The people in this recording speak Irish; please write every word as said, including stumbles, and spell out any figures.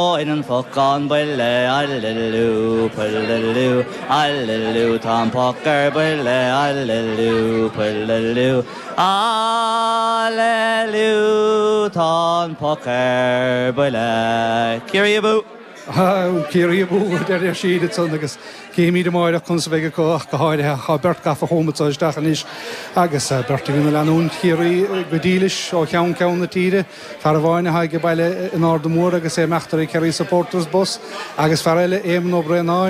In an pocán buile allú pullú allú tá poc ar buile allú pullú Allú tá poc ar buile. Ciarraí abú! Ciarraí abú deir siad san agus címid amárach conas a bheidh acu ach go háirithe tá beirt gafa chomh isteach anois agus beirt a bhíonn ag leanúint Chiarraí go dílis ó cheann ceann na tíre, fear amháin atá ag baile in Ard Mór agus é meachtar ag Kerry Supporters Bus agus fear eile Éamon Ó Braonáin